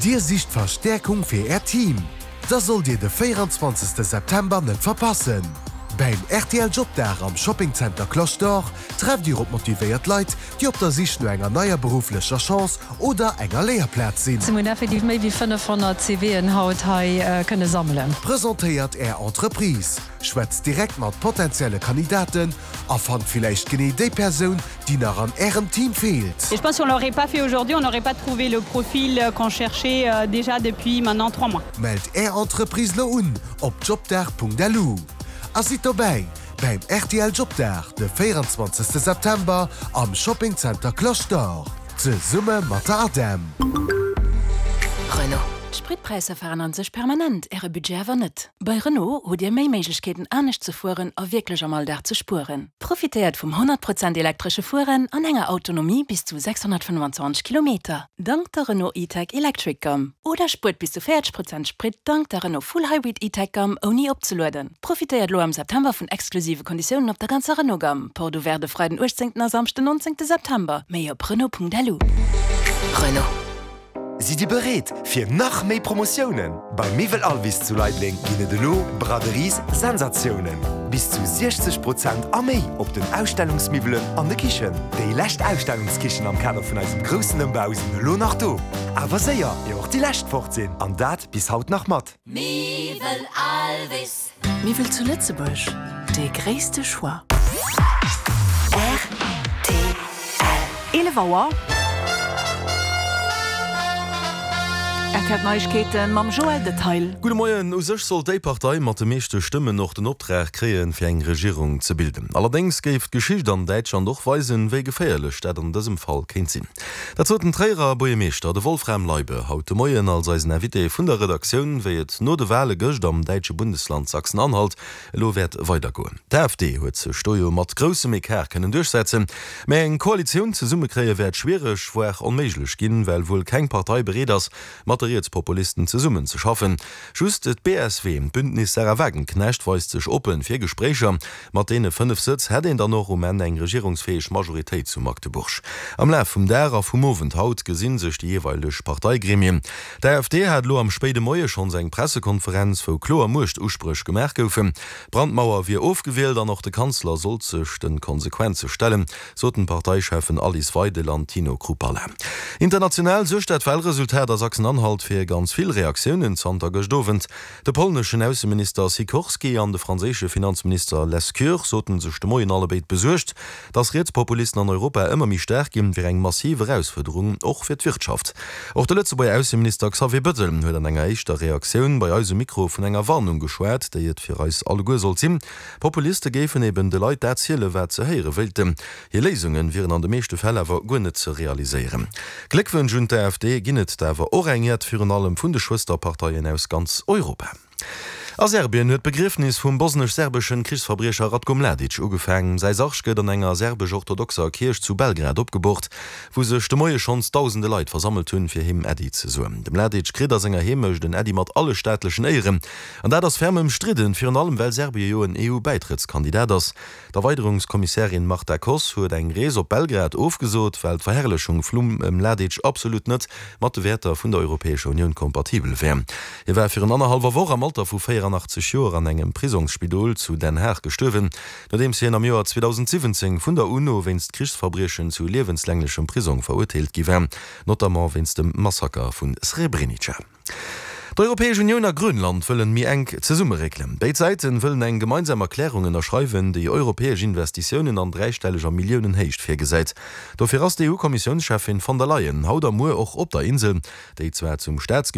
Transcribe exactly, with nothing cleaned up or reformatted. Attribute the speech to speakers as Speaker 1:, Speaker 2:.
Speaker 1: Dir sicht Verstäerkung fir Äert Team? Da sollt Dir de véieranzwanzegste September net verpassen! Beim rtl Jobdag am Shoppingzenter Cloche d'Or trefft Dir op motivéiert Leit, déi op der Sich no enger neier berufflecher Chance oder enger Léierplaz sinn.
Speaker 2: Mir hunn effektiv méi wéi fënnefhonnert CVen haut hei kënne sammelen.
Speaker 1: Presentéiert Är Entreprise, schwätzt direkt mat potenzielle Kandidaten a fannt villäicht genee déi Persoun, déi nach an Ärem Team feelt.
Speaker 3: Et je pense si on l'aurait pas fait aujourd'hui, on n'aurait pas trouvé le profil qu'on cherchait déjà depuis maintenant trois mois.
Speaker 1: Mellt Är Entreprise lo un op jobdag.lu a sidd dobäi beim rtl Jobdag de véieranzwanzegste September am Shoppingzenter Cloche d'Or zesumme mat der ADEM.
Speaker 4: Renault. D'Spritpräisser veränneren sech permanent, Äre Budget awer net. Bei Renault hutt Dir méi Méiglechkeeten anescht ze fueren a wierklech am Alldag ze spueren. Profitéiert vum honnert Prozent elektresche Fueren an enger Autonomie bis zu sechshonnertfënnwanzwanzeg Kilometer, dank der Renault E-Tech Electric Gamme. Oder spuert bis zu véierzeg Prozent Sprit dank der Renault Full Hybrid E-Tech Gamme ouni opzelueden. Profitéiert lo am September vun exklusive Konditiounen op der ganzer Renault Gamme. Porte ouverte de Freiden uechtzéngten a Samschden nonzéngte September. Méi op Renault.lu.
Speaker 5: Renault. Sidd Dir bereet fir nach méi Promotiounen? Bei Miwwel Alvis zu Leideleng ginn et elo Braderies Sensatiounen! Bis zu siechzeg Prozent a méi op den Ausstellungsmiwwelen an de Kichen. Déi lescht Ausstellungskichen am Kader vun eisem groussen Ëmbau sinn elo nach do. Awer séier, ier och déi lescht fort sinn! An dat bis haut nach mat.
Speaker 6: Miwwel Alvis.
Speaker 7: Miwwel zu Lëtzebuerg, dee gréisste Choix.
Speaker 6: Rtl.
Speaker 8: Eelef Auer. R T L Neiegkeeten mam Joël Detail.
Speaker 9: Gudde Moien. U sech sollt déi Partei mat de meeschte Stëmmen och den Optrag kréien, fir eng Regierung ze bilden. Allerdéngs géif d'Geschicht an Däitschland och weisen, wéi geféierlech dat an dësem Fall kéint sinn. Dat sot den Tréierer Buergermeeschter, de Wolfram Leibe, haut de Moien als eisen Invité vun der Redaktioun, wéi et no de Wale gëscht am däitsche Bundesland Sachsen-Anhalt elo wäert weidergoen. D'AfD huet sech do jo mat groussem Ecart kënnen duerchsetzen, mä eng Koalitioun zesummekréie wäert schwiereg, voire onméiglech ginn, well wuel keng Partei bereet ass, mat de Rietspopulisten zesummen ze schaffen. Just d'B S W, d'Bündnis Sahra Wagenknecht, weist sech oppen fir Gespréicher. Mat deene fënnef Sëtz hätt een dann och um Enn eng regierungsfäeg Majoritéit zu Magdeburg. Am Laf vum Dag a vum Owend haut gesi sech déi jeeweileg Parteigremien. D'AfD hat elo am spéide Moie schonns eng Pressekonferenz, wou kloer Muechtuspréch gemaach goufen. D'Brandmauer wier ofgewielt an och de Kanzler sollt sech de Konsequenze stellen, soten d'Parteicheffen Alice Weidel an Tino Chrupalla. International suergt dat Walresultat a Sachsen-Anhalt fir ganz vill Reaktiounen zanter gëscht Owend. De polneschen Ausseminister Sikorski an de franséische Finanzminister Lescure soten sech de Moien allebéid besuergt. Datt Rietspopulisten an Europa ëmmer méi staark ginn, wier eng massiv Erausfuerderung, och fir d'Wirtschaft. Och de Lëtzebuerger Ausseminister Xavier Bettel huet an enger éischter Reaktioun bei eis um Mikro vun enger Warnung geschwat, déi et fir eis alleguer sollt sinn. Populiste géifen eben de Leit dat zielen, wat se héiere wéilten. Hir Léisunge wieren an de meeschte Fäll awer guer net ze realiséieren. Gléckwënsch un d'AfD ginn et der awer och eng jett, virun allem vun de Schwësterparteien aus ganz Europa. A Serbien huet d'Begriefnis vum bosnesch-serbeschen Krichsverbriecher Ratko Mladic ugefaangen. Säi Sarg gëtt an enger serbesch-orthodoxer Kierch zu Belgrad opgeboort, wou sech de Moie schonns dausende Leit versammelt hunn, fir him Äddi ze soen. De Mladic kritt a senger Heemecht en Äddi mat alle staatlechen Éieren. An dat ass ferm ëmstridden, virun allem well Serbie jo en E U-Bäitrëttskandidat ass. D'Erweiderungskommissärin Marta Kos huet eng Rees op Belgrad ofgesot, well d'Verherrlechung vum Mladic absolut net mat de Wäerter vun der Europäescher Unioun kompatibel wär. Hie war virun annerhallwer Woch am Alter vu véierannachtzeg Joer an engem Prisongsspidol zu Den Haag gestuerwen, nodeems hien am Joer zweedausendsiwwenzéng vun der UNO wéinst Krichsverbriechen zu liewenslänglechem Prisong verurteelt gi war, notamment wéinst dem Massaker vu Srebrenica. D'Europäesch Unioun a Grönland wëllen méi enk zesummeréckelen. Béid Säiten wëllen eng gemeinsam Erklärung ënnerschreiwen, déi europäesch Investitiounen an dräistelleger Milliounenhéicht virgesäit. Dofir ass d'E U-Kommissiounscheffin von der Leyen haut a muer och op der Insel, déi zwar zum Staatsgebitt